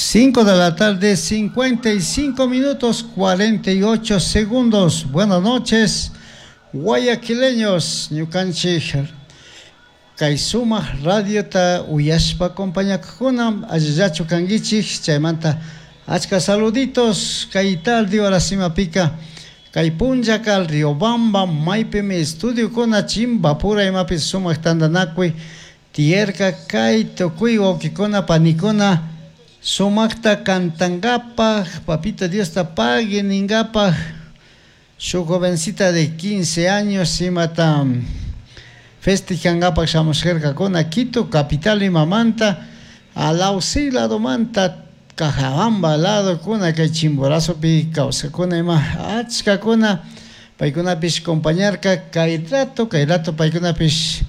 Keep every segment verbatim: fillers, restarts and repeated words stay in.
Cinco de la tarde, cincuenta y cinco minutos, cuarenta y ocho segundos. Buenas noches, guayaquileños, ñukanchik kay sumak radiota uyashpa acompañakuna, allillachu kanguichik? Chaymanta achka saluditos kay tarde horas imapika kay punllaka Riobamba maypimi estudiokuna Chimbapura imapi sumak tantanakuy tiyarka kay tukuy wawkikuna panikuna sumakta cantankapaj, Papito Diosta pagui ninkapaj. Shuk jovencita de quince años imata festejankapaj shamushkarkakuna Quito capital imamanta, Alausí ladomanta, Cajabamba ladokuna, kay Chimborazopi kawsakuna ima achkakuna paykunapish compañarka. Kay rato, kay rato paykunapish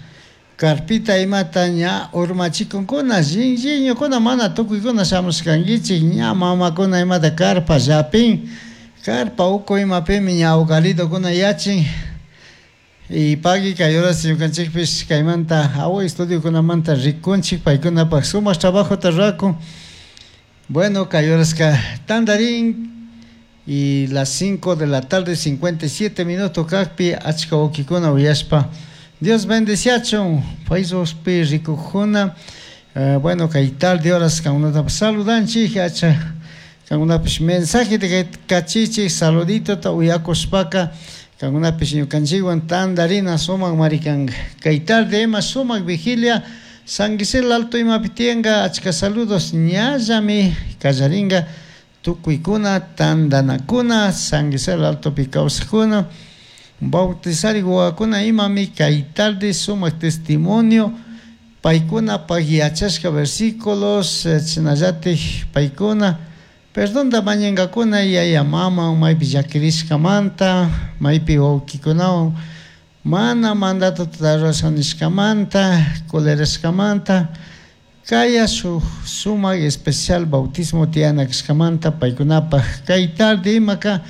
carpita imata ña urmachikunkuna, llinlliñukuna. Mana tukuykuna shamushkankichik, ña mamakuna imata carpa llapin, carpa uku imapimi ña ugaridokuna yachin. Y pagui kay horas ñukanchikpish kaymanta awa estudiokunamanta rikunchik paykunapak sumak trabajota rurakun. Bueno, kay horaska tandarin y las cinco de la tarde cincuenta y siete minutos kakpi achka wawkikuna uyashpa Dios bendeciachun Facebookpi rikukuna. eh, bueno kay tarde horas kankunata saludanchik. Acha kankunapish mensaje kachichik saluditota uyakushpaka kankunapish ñukanchikwan tandarina sumak marikanka. Kay tarde ima sumak vigilia San Gisel Alto imapi tiyanka. Achka saludos, ñallami kallarinka. Tukuykuna tandanakuna San Gisel Altopi kawsakuna, bautizarik wawakuna imami kay tarde sumak testimonio paykunapak yachashka versículos, chashnallatik paykuna perdonta mañankakuna yaya mama maypi llakirishkamanta, maypi wawkikunawan mana mandatota rurasha nishkamanta, colerashkamanta. Kaya shuk sumak especial bautismo tiyana kashkamanta paykunapak kay tarde imaka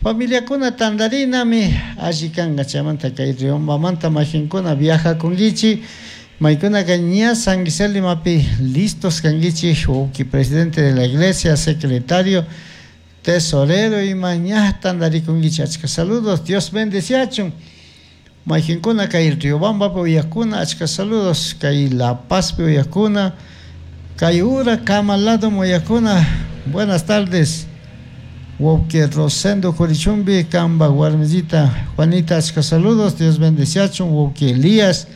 familiakuna tandarinami alli kanka. Chaymanta kay Riobambamanta majinkuna viajakunkichik, maykunaka ña San Gisel imapi listos kankichik, wawki presidente de la iglesia, secretario, tesorero ima ña tandarikunkichik. Achka saludos, Dios bendeciachun. Mayqinkuna kay Riobambapi uyakuna, achka saludos. Kay La Pazpi uyakuna, kay ura Camal lado uyakuna, buenas tardes. Wawki Rosendo Curichumbi, kamba warmisita Juanita, achka saludos, Dios bendeciachun. Wawki Elías,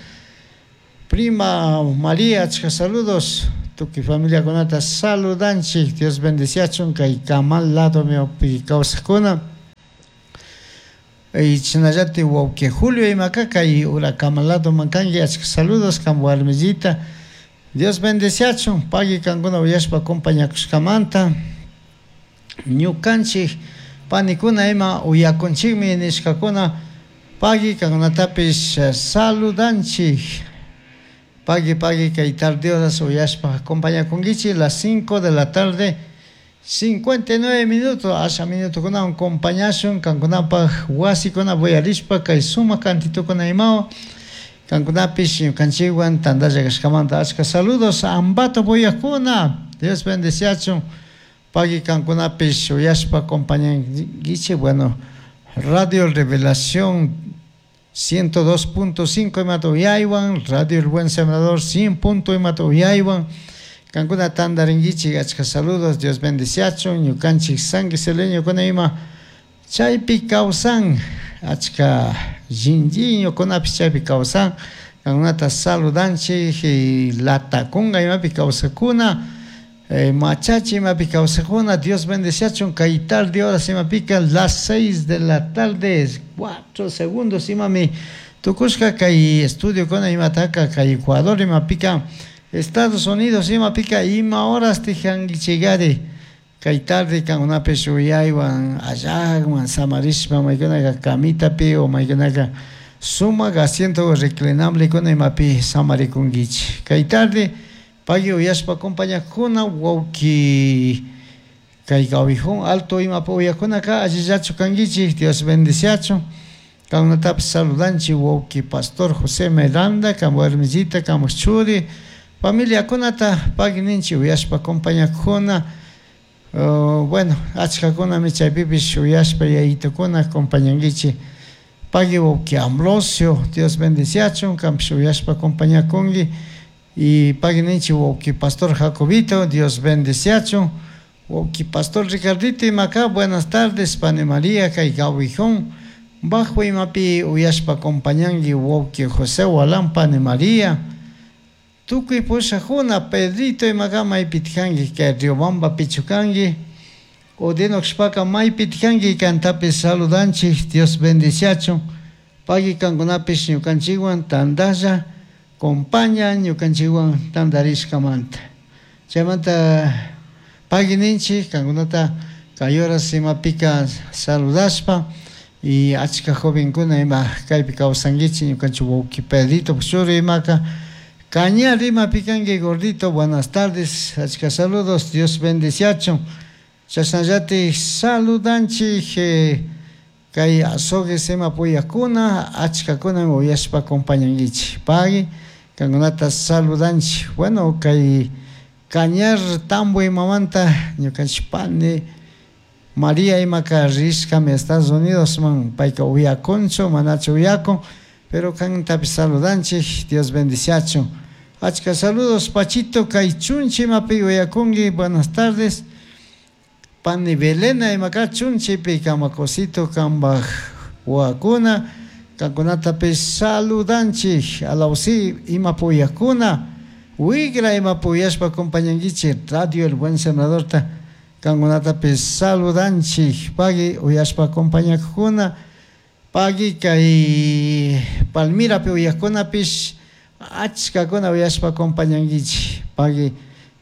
prima María, achka saludos. Tukuy familiakunata saludanchik, Dios bendeciachun kay Camal lado pi kawsakuna. Y chashnallatik wawki Julio imaka kay ura Camal lado kanki, achka saludos kan warmisita. Dios bendeciachun, pagui kankuna uyashpa acompañakushkamanta. Ñukanchik panikuna ima uyakunchikmi nishkakuna, pagui kankunatapish saludanchik. Pagui, pagui kay tarde horas uyashpa acompañakunkichik. Las cinco de la tarde cincuenta y nueve minutos, asha minutokunawan acompañashun kankunapak wasikuna uyarishpa kay sumak cantitokuna imawan kankunapish ñukanchikwan tandalla kashkamanta achka saludos. Ambato uyakuna, Dios bendeciachun, pagui kankunapish uyashpa acompañankichik. Bueno, Radio Revelación ciento dos punto cinco imata uyaywan, Radio El Buen Sembrador cien punto imata uyaywan kankuna tandarinkichik. Achka saludos, Dios bendeciachun. Ñukanchik sanguiseleñokuna ima chaypi kawsan, achka llinlliñukunapish chaypi kawsan, kankunata saludanchik. Y Latacunga imapi kawsakuna, eh, Machachi imapi kawsakuna, Dios bendeciachun. Kay tarde horas imapika las seis de la tarde cuatro segundos imami tukushka kay estudiokuna imataka kay Ecuador imapika, Estados Unidos imapika ima horas tijankichikari kay tarde kankunapish uyaywan allakman samarishpa, maykunaka camitapi o maykunaka sumak asiento reclinable imapi samarikunkichik. Kay tarde pagui uyashpa acompañakuna. Wawki kay Gawijón Alto imapi uyakunaka, allillachu kankichik? Dios bendeciachun. Kankunatapish saludanchik. Wawki pastor José Miranda, kan warmisita, kanpak churi, familiakunata pagui ninchik uyashpa acompañakuna. Uh, bueno, achkakunami chaypipish uyashpa yayitukuna acompañankichik. Pagui wawki Ambrosio, Dios bendiciachun, kanpish uyashpa acompañakunki. Y pagui ninchik wawki Pastor Jacobito, Dios bendiciachun. Wawki Pastor Ricardito imaka, buenas tardes, pani María, kay Gawijón. Bajo imapi uyashpa acompañanki wawki José Walán, pani María. Tukuy pushajuna, Pedrito imaka maypitkanki, kay Riobamba pichukanki. Odinoxpaka maypitkanki kantapis saludanchik, Dios bendiciachun. Pagui kankunapish ñukanchikwan tandalla, compaña ñukanchikwan tandarishkamanta. Chaymanta pagui ninchik kankunata kay horas imapika saludashpa y achka jovenkuna ima kaypi kawsankichik ñukanchik wawki Pedrito churi imaka. Cañar imapi kanki gordito, buenas tardes, achka saludos, Dios bendiciachun. Chashnallati saludanchik eh, kay azogues ima puyakuna, achkakuna uyashpa acompañankichik. Pagui, kankunata saludanchik. Bueno, kay Cañar Tambo imamanta ñukanchik pani María imaka rishkami Estados Unidos man, payka uyakunchu, manachu uyakun, pero kantapish saludanchik, Dios bendiciachun. Achka saludos, Pachito, kay chunchi imapi uyakunki, buenas tardes. Pani Belena imaka chunchipi kamakosito kambaj wakuna, kankunatapish saludanchik, alawsi imapi uyakuna, wigra imapi uyashpa acompañankichik, Radio El Buen Sembradorta, kankunatapish saludanchik, pagui uyashpa acompañakuna, pagui kay Palmirapi uyakunapish, achkakuna uyashpa acompañankichik, pagui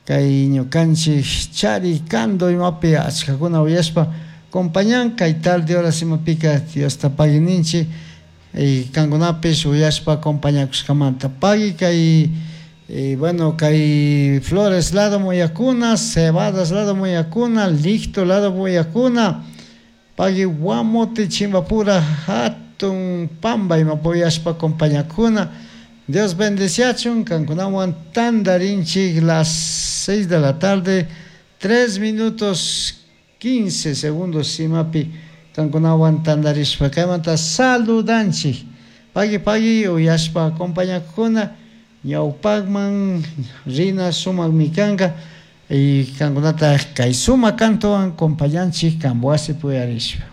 kay ñukanchik chari kando imapi achkakuna uyashpa acompañan, kay tarde horas imapika Diosta pagui ninchik, y kankunapish uyashpa acompañakushkamanta. Pagui kay y bueno, kay Flores lado muyakuna, Cebadas lado muyakuna, Licto lado muyakuna, pagui Guamote Chimbapura hatun pamba imapi uyashpa acompañakuna. Dios bendiciachun, kankunawan tandarinchik las seis de la tarde, tres minutos quince segundos imapi kankunawan tandarishpa kaymanta saludanchik. Pagui pagui uyashpa acompañakuna, ñawpakman rina sumakmi kanka y kankunata kay sumak kantuwan acompañanchik kambuasi puyarishpa.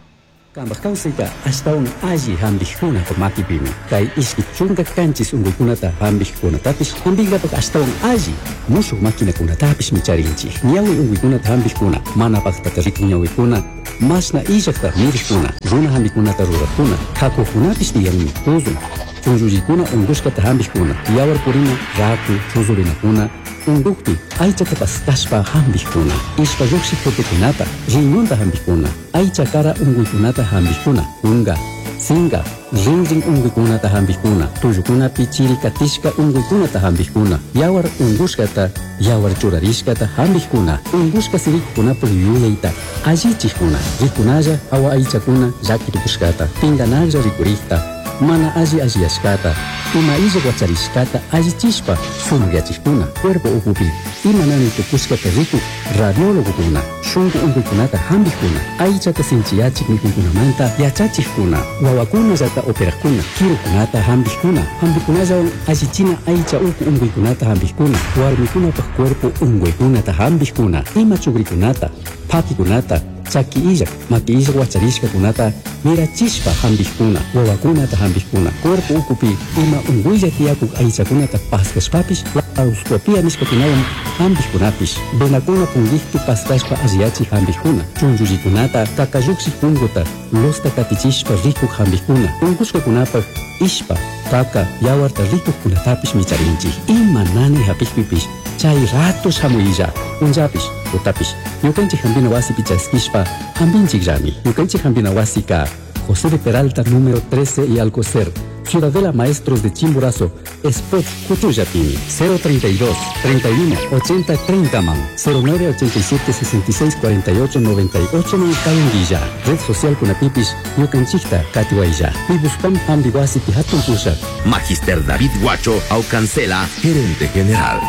Kambaj kawsayta ashtawan alli hampikkunapa makipimi kay ishki chunka kanchis unkuykunata hampikkunatapish hampinkapak ashtawan alli mushuk maquinakunatapishmi charinchik. Ñawi unkuykunata hampikkuna, mana paktata rikun ñawikuna, mashna illakta mirikuna, runa hampikunata rurakuna, hakukunapish tiyanmi, tuzun, chunllullikuna unkushkata hampikkuna, yawar purina, raku, chuzurinakuna, unkukpi aychata paskashpa hampikkuna, ishpa lluqshik jetekunata, riñonta hampikkuna, aycha kara unkuykunata hampikkuna, kunka, sinka, rinrin unkuykunata hampikkuna, tullukunapi chiri katishka unkuykunata hampikkuna, yawar unkushkata, yawar churarishkata hampikkuna, unkushka sirikukunapuk yuyayta allichikkuna, rikunalla awa aychakuna llakitukushkata, pinkanaklla rikurikta, mana alli alliyashkata, ima illak wacharishkata allichishpa sumakyachikkuna, cuerpo ukupi ima nani tukushkata rikuk radiólogokuna, shunku unkuykunata hampikkuna, aychata sinchiyachik mikuykunamanta yachachikkuna, wawakunallata operajkuna, kirukunata hampikkuna, hampikunallawan allichina aycha uku unkuykunata hampikkuna, warmikunapak cuerpo unkuykunata hampikkuna, ima chukrikunata, phakikunata, chaki illak, maki illak wacharishkakunata mirachishpa hampikkuna, wawakunata hampikkuna, cuerpo ukupi ima unkuylla tiyakuk aychakunata paskashpapish laparoscopia nishkakunawan hampikkunapish, venakuna punkikpi paskashpa alliyachik hampikkuna, chunllullikunata kakallukshik punkuta losta katichishpa rikuk hampikkuna, unkushkakunapak ishpa, kaka, yawarta rikukkunatapish micharinchik. Ima nani hapikpipish chay rato shamuylla, punllapish, tutapish, ñukanchik hampina wasipi chaskishpa hampinchikllami. Ñukanchik hampina wasika José de Peralta número trece y Alcocer, Ciudadela Maestros de Chimborazo, Spot Cuchuyapimi, cero treinta y dos, treinta y uno, ochenta, treinta man, cero nueve ochenta y siete, sesenta y seis, cuarenta y ocho, noventa y ocho man Calenguilla, Red Social Kunapipis, Ñukanchikta, Katiwaya, Pibuspam Hambiwasi Pihatun Pusha. Magister David Guacho Aucancela, gerente general.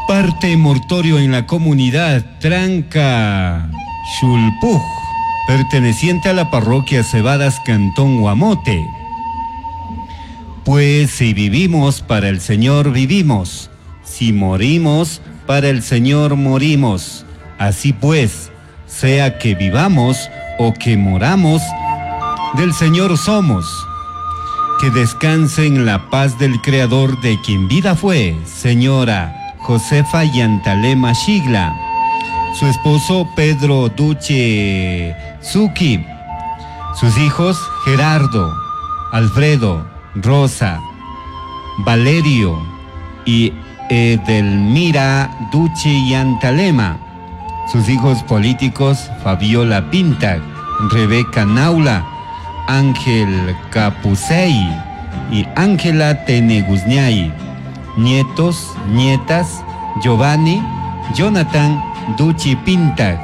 Parte mortorio en la comunidad Tranca Xulpuj, perteneciente a la parroquia Cebadas, Cantón Guamote. Pues si vivimos, para el Señor vivimos. Si morimos, para el Señor morimos. Así pues, sea que vivamos o que moramos, del Señor somos. Que descanse en la paz del Creador, de quien vida fue, señora Josefa Yantalema Shigla, su esposo Pedro Duche Zuki, sus hijos Gerardo, Alfredo, Rosa, Valerio y Edelmira Duche Yantalema, sus hijos políticos Fabiola Pinta, Rebeca Naula, Ángel Capusey y Ángela Teneguzñay, nietos, nietas, Giovanni, Jonathan Duchi Pinta,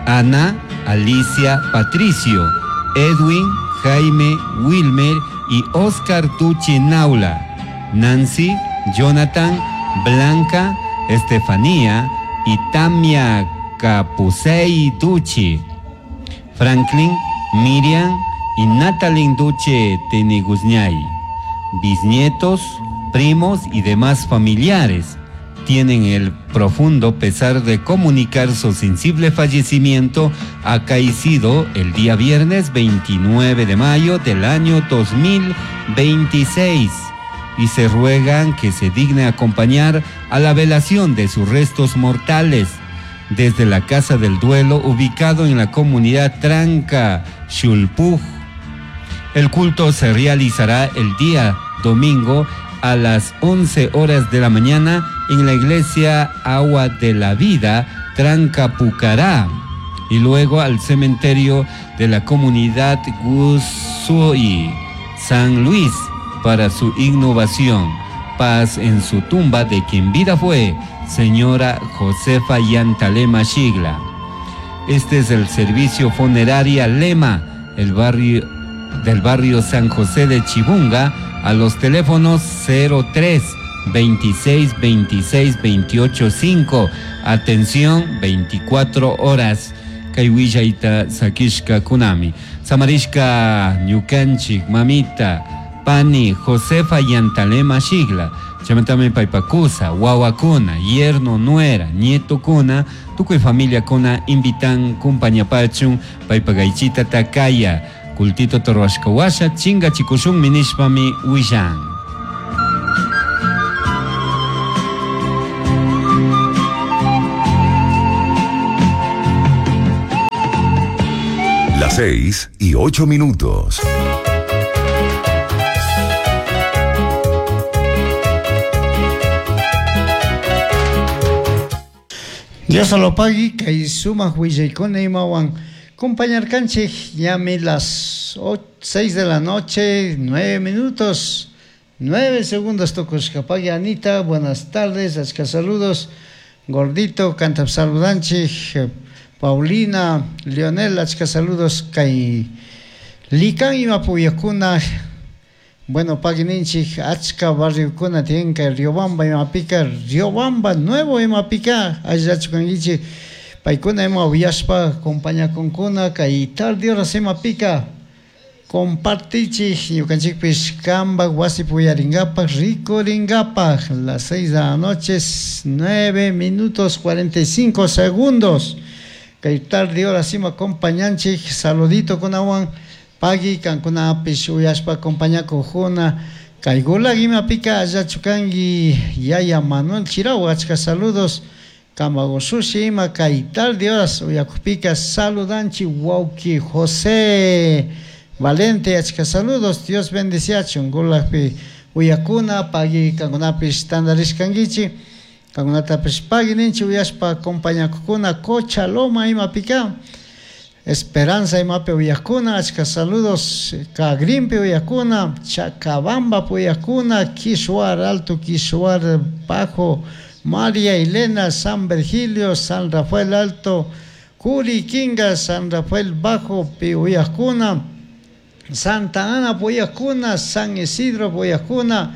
Ana, Alicia, Patricio, Edwin, Jaime, Wilmer y Oscar Duchi Naula, Nancy, Jonathan, Blanca, Estefanía y Tamia Capusey Duchi, Franklin, Miriam y Natalie Duche Teneguzñay, bisnietos, primos y demás familiares tienen el profundo pesar de comunicar su sensible fallecimiento acaecido el día viernes veintinueve de mayo del año dos mil veintiséis y se ruegan que se digne acompañar a la velación de sus restos mortales desde la Casa del Duelo ubicado en la comunidad Tranca, Xulpuj. El culto se realizará el día domingo a las once horas de la mañana en la iglesia Agua de la Vida, Tranca Pucará, y luego al cementerio de la comunidad Gusui, San Luis, para su innovación. Paz en su tumba de quien vida fue, señora Josefa Yantalema Shigla. Este es el servicio funeraria Lema, el barrio del barrio San José de Chibunga, a los teléfonos cero tres, veintiséis, veintiséis, veintiocho, cinco. Atención, veinticuatro horas. Kay willayta sakishka kunami. Samarishka ñukanchik mamita pani Josefa Yantalema Shigla. Chamatame paypakusa, wawakuna, yerno, nuera, nieto kuna, tukuy familia kuna invitan kumpañapachun paypagaychita takaya. Kultito torwashkawasha, chinga chikushun minishpami willan. Las seis y ocho minutos. Dios lo pague, que suma huillaykuna imawan compañarkanchik, llame las seis de la noche, nueve minutos, nueve segundos tokushka. Pagui Anita, buenas tardes, achka saludos, gordito, canta saludanchik, Paulina, Leonel, achka saludos, kay likan imapuyakuna, bueno, paguininchik, achka barriokuna tienen que Riobamba imapika, Riobamba nuevo imapika, allachukanguichik, paykuna ima uyashpa compañakunkuna kay tarde horas imapika compartichik ñukanchikpish kamba wasi puyaringapaj rikuringapaj. Las seis de la noche, nueve minutos cuarenta y cinco segundos kay tarde horas ima acompañanchik, saludito kunawan pagui kankunapish uyashpa acompañakujuna kay gulag imapika allachukanki yaya Manuel Chirau, achka saludos. Kamagosushi ima kay tarde horas uyakupika saludanchi wauki José Valente, achka saludos, Dios bendiciachun gulakpi uyakuna pagui kankunapish tandarishkankichik kankunatapish pagui ninchi uyashpa acompañakukuna Cocha Loma imapika Esperanza imapi uyakuna, achka saludos Cagrimpi uyakuna, Chacabamba uyakuna, Quishuar Alto, Quishuar Bajo, María Elena, San Virgilio, San Rafael Alto, Curiquinga, San Rafael Bajo, Piuyacuna, Santa Ana, Puyacuna, San Isidro, Puyacuna,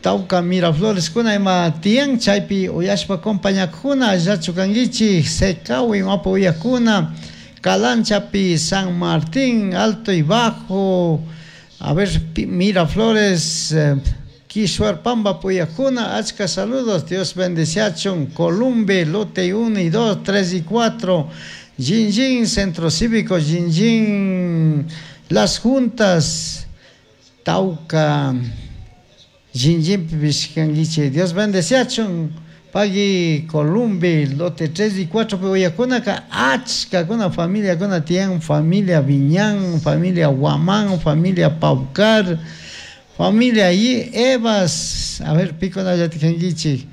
Tauca Miraflores kuna ima tiyan chaypi uyashpa compañakuna allachu kankichik Secawi imapi uyakuna Calanchapi San Martín Alto y Bajo a ver Miraflores eh, Quishuarpamba puyakuna achka saludos Dios bendeciachun Columbe lote uno y dos, tres y cuatro Jinjin Centro Cívico Jinjin Las Juntas Tauca Jinjin pishkanguiche Dios bendeciachun pagui Columbe lote tres y cuatro puyakuna achka kuna familia kuna tiyan familia Viñán familia Guamán familia Paucar familia y Evas a ver pico na yatikanguichi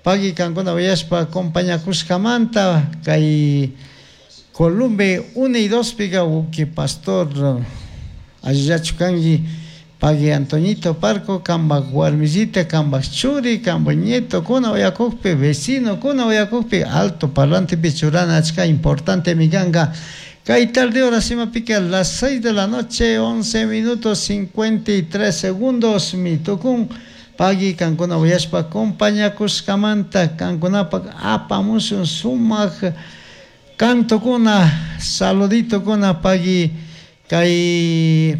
pagui kankuna uyashpa compañakushkamanta kay Columbe uno y dos pica uki pastor allachu kanki pagui Antoñito Parco kambak warmisita kambak churi kambak nieto kuna uyakukpi vecino kuna uyakukpi alto parlante churana achka importante mi kanka kay tarde hora sima pica a las seis de la noche once minutos cincuenta y tres segundos mi tukun pagui kankuna uyashpa compañakushkamanta kankunapak apamushun sumak canto kuna saludito kuna pagui kay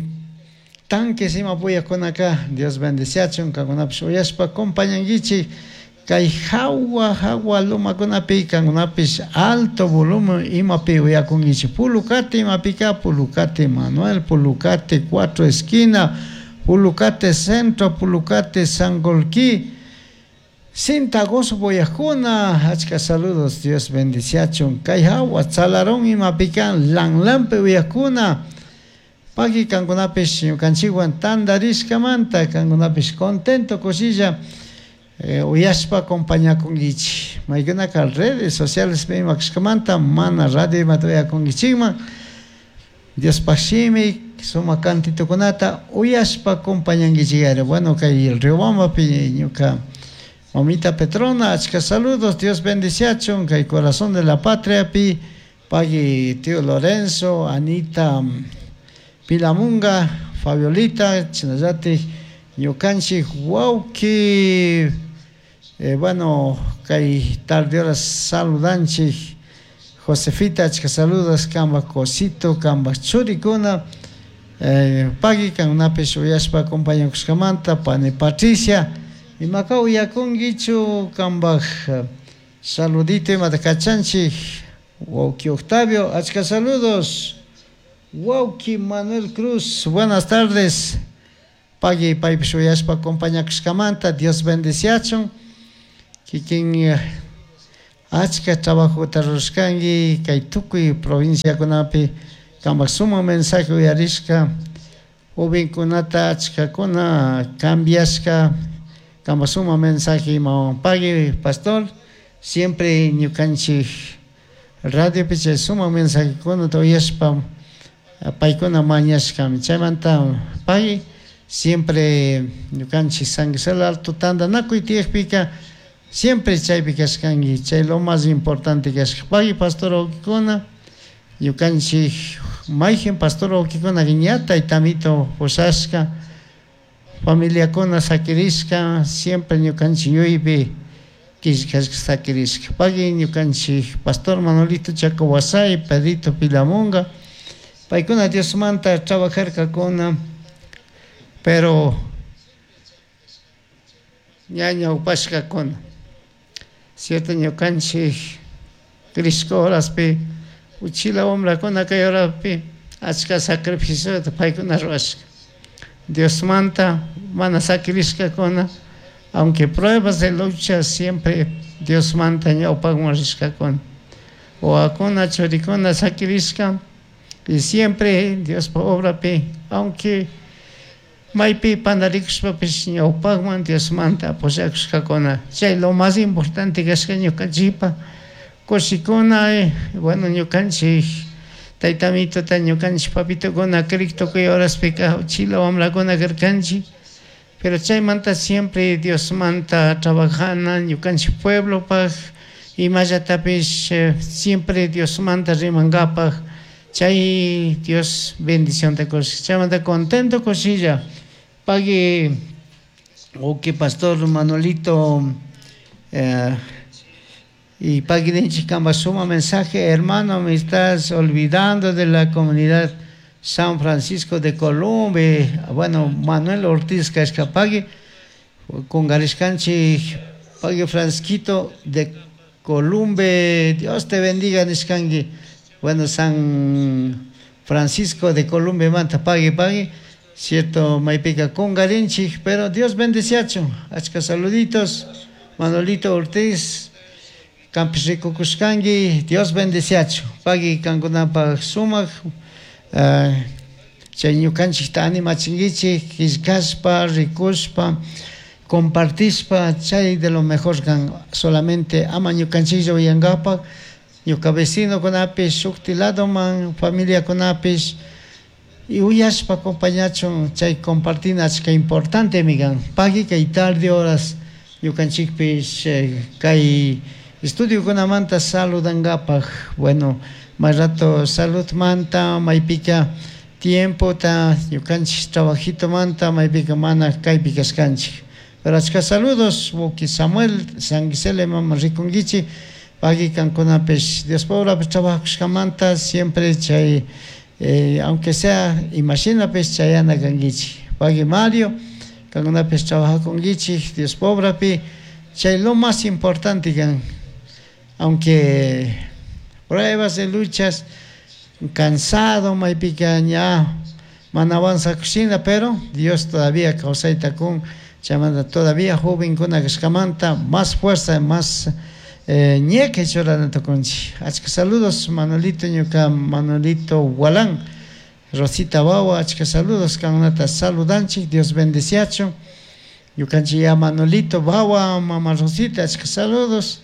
tanques ima puyakuna acá Dios bendeciachun kankunapish uyashpa compañankichik kay hawa hawa lumakunapi kankunapish alto volumen imapi uyakunkichik Pulucate imapika Pulucate Manuel Pulucate cuatro esquina Pulucate Centro Pulucate Sangolquí Cintagoso boyakuna achka saludos Dios bendeciachun kay hawa Tzalarón imapikan Lanlampe uyakuna pagui kankunapish ñukanchikwan tandarishkamanta kankunapish contento kushilla eh, uyashpa compañakunkichik maykunaka redes sociales imakashkamanta mana radio imata uyakunkichikman Diospaq shimi sumak cantitukunata uyashpa compañankichik bueno kay Riobambapi ñuka mamita Petrona achka saludos Dios bendiciachun kay corazón de la patria pi pagui tío Lorenzo Anita Pilamunga Fabiolita chinallatik ñukanchik wawki eh, bueno kay tarde horas saludanchik Josefita achka saludos kambak cosito kambak churikuna eh, pagui kankunapish uyashpa acompañakushkamanta pani Patricia imaka uyakunkichu kambak saludito imata kachanchik wawki Octavio achka saludos wawki Manuel Cruz buenas tardes pagui paypish uyashpa acompañakushkamanta Dios bendeciachun kikin achka trabajota rurashkanki kay tukuy provinciakunapi kambak sumak mensaje uyarishka jovenkunata achkakuna cambiashka kambak sumak mensaje imawan pagui pastor siempre ñukanchik radiopi chay sumak mensajekunata uyashpa paykuna mañashkami chaymanta pagui siempre ñukanchik San Gisela Alto tantanakuy tiyakpika siempre chaypi kashkanki chay lo más importante kashka pagui pastor wawkikuna ñukanchik mayjin pastor wawkikuna ña taytamito pushashka familiakuna sakirishka siempre ñukanchik yuypi killkashka sakirishka pagui ñukanchik pastor Manolito Chacahuasay Pedrito Pilamunga paykuna Diosmanta trabajarkakuna pero ña ñawpashkakuna cierto ñukanchik Crisco horaspi uchila wamrakuna kay horapi achka sacrificiota paykuna rurashka Diosmanta mana sakirishkakuna aunque pruebas de lucha siempre Diosmanta ñawpakman rishkakuna wawakuna churikuna sakirishka y siempre Diospa obrapi aunque maypi pandarikushpapish ñawpakman Diosmanta apoyakushkakuna chay lo más importante kashka ñukanchikpa kushikuna eh, bueno ñukanchik taytamitota ñukanchik papitukuna creek tukuy horaspika uchila wamrakuna karkanchik pero chaymanta siempre Diosmanta trabajana ñukanchik pueblopaq imallatapish eh, siempre Diosmanta rimankapaq chay Dios bendición te kushka chaymanta contento kushilla pagui Ok, pastor Manolito, eh, y pagui kamba suma mensaje, hermano, me estás olvidando de la comunidad San Francisco de Colombia. Bueno, Manuel Ortiz Cascapagui, con Gariscanchi, Pagui Francisquito de Columbe, Dios te bendiga, nishkangi. Bueno, San Francisco de Columbe, manta, pagui, pagui. Cierto, maypica con Garinchi, pero Dios bendeciacho. Achka saluditos, Manolito Ortiz, Campis Rico Cuscangui, Dios bendeciacho. Pagui kankunapaj sumak, chay ñukanchikta animachinkichik, killkashpa, rikushpa, compartishpa, chay de lo mejor kan solamente ama ñukanchiklla uyankapak, ñuka vecinokunapish, shukti ladoman, familiakunapish, y uyashpa acompañachun, chay compartina achka importante migan. Pagui kay tarde horas ñukanchikpish eh, kay estudiokunamanta saludankapaj. Bueno, más rato salud manta, maypika tiempo ta ñukanchik trabajito manta, maypika mana kaypi kashkanchik. Pero achka saludos, wawki Samuel, San Gisele mama rikunkichik, pagui kankunapish Dios pobrapish trabajakushkamanta siempre chay eh, aunque sea imashinapis chayana kankichik. Pagui Mario, kankunapish trabajakunkichik Dios pobrapi, chay lo más importante kan, aunque pruebas de luchas, cansado, maypika ña mana avanzakushina, pero Dios todavía kawsayta kun, chaymanta todavía jovenkuna kashkamanta más fuerza, más eh, ñeque churana tukunchik. Achka saludos, Manolito ñuka, Manolito Gualán, Rosita Bawa, achka saludos, kankunata saludanchik, Dios bendeciacho. Ñukanchik ya Manolito Bawa, Mama Rosita, achka saludos.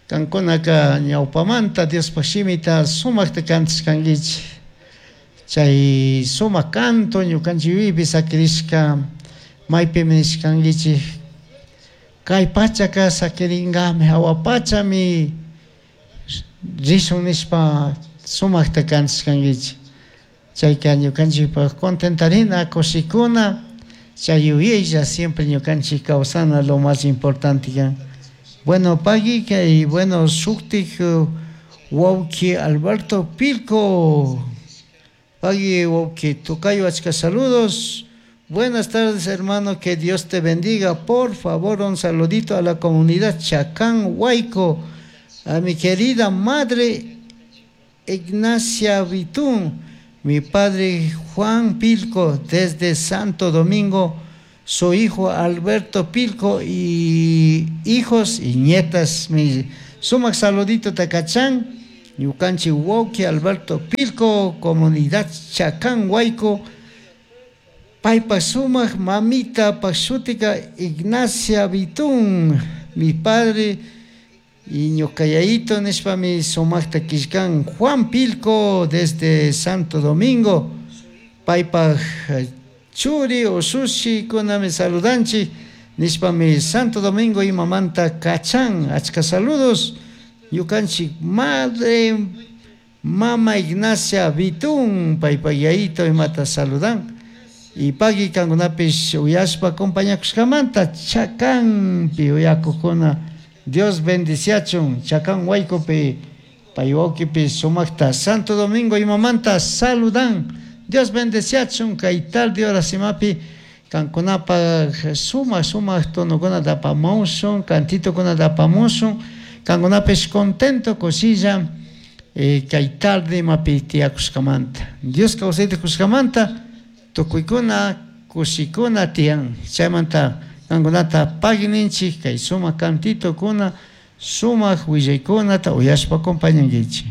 Kankunaka ñawpamanta Diospaj shimita sumakta kantashkankichik. Chay sumak canto ñukanchik yuyaypi sakirishka maypimi nishkankichik. Kay pachaka sakirinkami, hawa pachami rishun nishpa sumakta kantashkankichik. Chayka ñukanchikpak contentarina, kushikuna, chay yuyaylla siempre ñukanchik kawsana lo más importante kan. Bueno, pagui y bueno, shuktik wawki Alberto Pilco. Pagui wawki Tocayo, achka saludos. Buenas tardes, hermano, que Dios te bendiga. Por favor, un saludito a la comunidad Chacán Huayco, a mi querida madre Ignacia Vitún, mi padre Juan Pilco desde Santo Domingo, su hijo Alberto Pilco y hijos y nietas. Mi sumak saludito takachan, ñukanchik wawki Alberto Pilco, comunidad Chacán Huayco, paypa sumak mamita pashutika Ignacia Vitún, mi padre y ñukayaito nishpami sumakta killkan Juan Pilco desde Santo Domingo, paypa churi usushi kunami saludanchik nishpami Santo Domingo imamanta kachan, achka saludos ñukanchik madre mama Ignacia Vitún, paypa yayito imata saludan. Y pagui kankunapish uyashpa acompañakushkamanta Chacanpi uyakukuna, Dios bendiciachun Chacán Huaycopi pay wawkipi sumakta Santo Domingo imamanta saludan. Dios bendeciachun kay tarde horasimapi kankunapaj sumak sumak tonokuna tapamushun, cantitokuna tapamushun, kankunapish contento kushilla eh, kay tarde imapi tiyakushkamanta. Dios kawsayta kushkamanta tukuykuna kushikuna tiyan. Chaymanta kankunata pagui ninchik kay sumak cantitokuna, sumak willaykunata uyashpa acompañankichik.